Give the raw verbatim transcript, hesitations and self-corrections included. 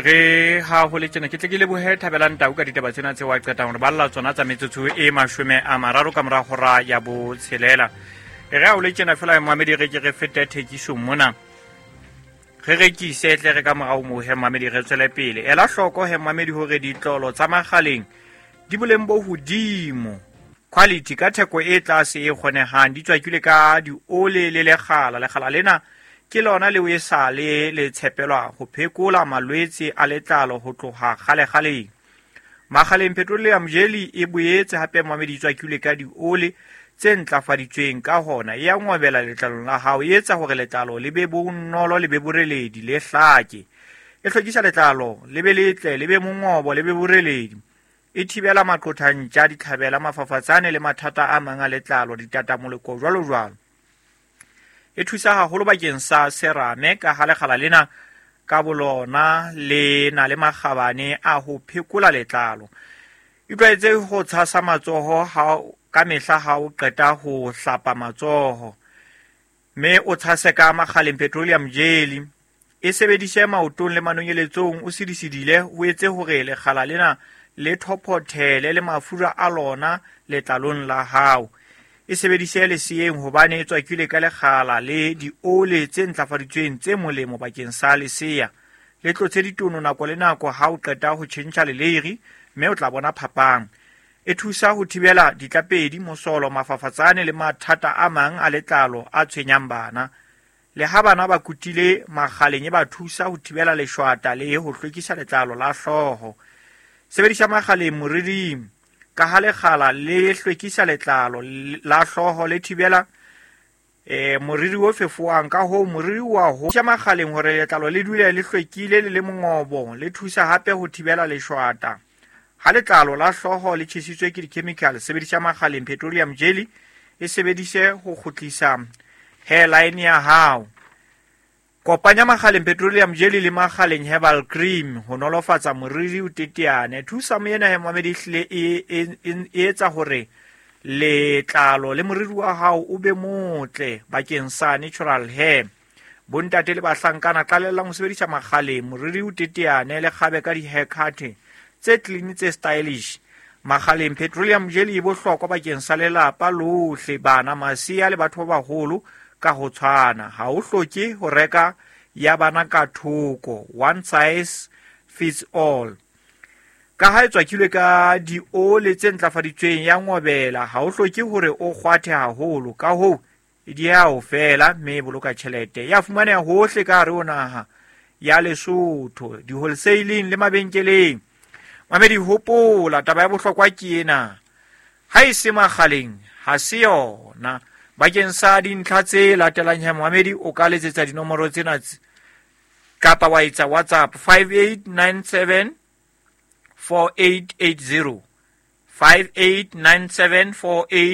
Re ha ho le tjena, ke tle ke lebohe Thabelang Tau ka ditaba tsena tse wa qetang hore balla tsona tsa metsotso e mashome a mararo ka mora hora ya botshelela. E re ha ho le tjena fela, mamedi, re ke re fete thekisong mona, re rekise tle re ka morao moo he, mamedi, re tswele pele. Ela hloko he, mamedi, hore ditlolo tsa Makgaleng di boleng bo hodimo, quality, ka theko e tlase e kgonehang. Di tswakilwe ka diole le lekgala. Lekgala lena ke lona leo e sa le le tshepelwa ho phekola malwetse a letlalo ho tloha kgalekgaleng. Makgaleng Petroleum Jelly e boetse hape, mamedi, tswakilwe ka diole tse ntlafaditsweng, ka hona e ya ngobela letlalong la hao, e etsa hore letlalo le be bonolo, le be boreledi, le hlake. E hlwekisa letlalo le be letle, le be mongobo, le be boreledi. E thibela maqothantja, ditlhabela, mafafatsane le mathata a mang a letlalo, ditatamoleko, jwalo jwalo. E thusa haholo bakeng sa serame, ka ha lekgala lena ka bolona le na le makgabane a ho phekola letlalo. Itlwaetse ho tshasa matsoho ha ka mehla ha o qeta ho hlapa matsoho, mme o tshase ka Makgaleng Petroleum Jelly. E sebedise maotong le manonyeletsong, o sidisidile, o etse hore lekgala lena le thophothele le mafura a lona letlalong la hao. E sebedise leseeng hobane e tswakilwe ka lekgala le diole tse ntlafaditsweng tse molemo bakeng sa lesea. Le tlotse ditono nako le nako ha o qeta ho tjhentjha leleiri, mme o tla bona phapang. E thusa ho thibela ditlapedi, mosolo, mafafatsane le mathata a mang a letlalo a tshwenyang bana. Le ha bana ba kutile Makgaleng, e ba thusa ho thibela leshwata le ho hlwekisa letlalo la hlooho. Sebedisa Makgaleng moriring, ka ha lekgala le hlwekisa letlalo la hlooho, le thibela eh moriri o fefoang, ka hoo moriri wa ho tja Makgaleng hore letlalo le dule le hlwekile le le mongobo. Le thusa hape ho thibela leshwata ha letlalo la hlooho le tjhesitswe ke di-chemical. Sebedisa Makgaleng Petroleum Jelly, e sebedise ho kgutlisa hairline ya hao. Kopanya Makgaleng Petroleum Jelly le Makgaleng Herbal Cream ho nolofatsa moriri o teteane. Thusa moena he, mamedi, ehlile e, e, e, e etsa hore letlalo le moriri wa hao o be motle bakeng sa natural hair. Bontate le bahlankana, qalellang ho sebedisa Makgaleng, moriri o teteane, le kgabe ka di-haircut tse clean, tse stylish. Makgaleng Petroleum Jelly e bohlokwa bakeng sa lelapa lohle, bana, masea le batho ba baholo ka ho tshwana. Ha o hloke ho reka ya bana ka thoko, one size fits all. Ka ha e tswakilwe ka diole tse ntlafaditsweng, ya ngobela, ha o hloke hore o kgwathe haholo, ka hoo e dieha ho fela, mme e boloka tjhelete. Ya fumaneha hohle ka hare ho naha ya Lesotho, di-wholesaling le mabenkeleng. Mamedi, hopola taba ya bohlokwa ke ena: ha e se Makgaleng, ha se yona. Bakeng sa dintlha tse latelang he, mamedi, o ka letsetsa dinomoro tsena kapa wa etsa WhatsApp five eight nine seven four eight eight zero, five eight nine seven four eight.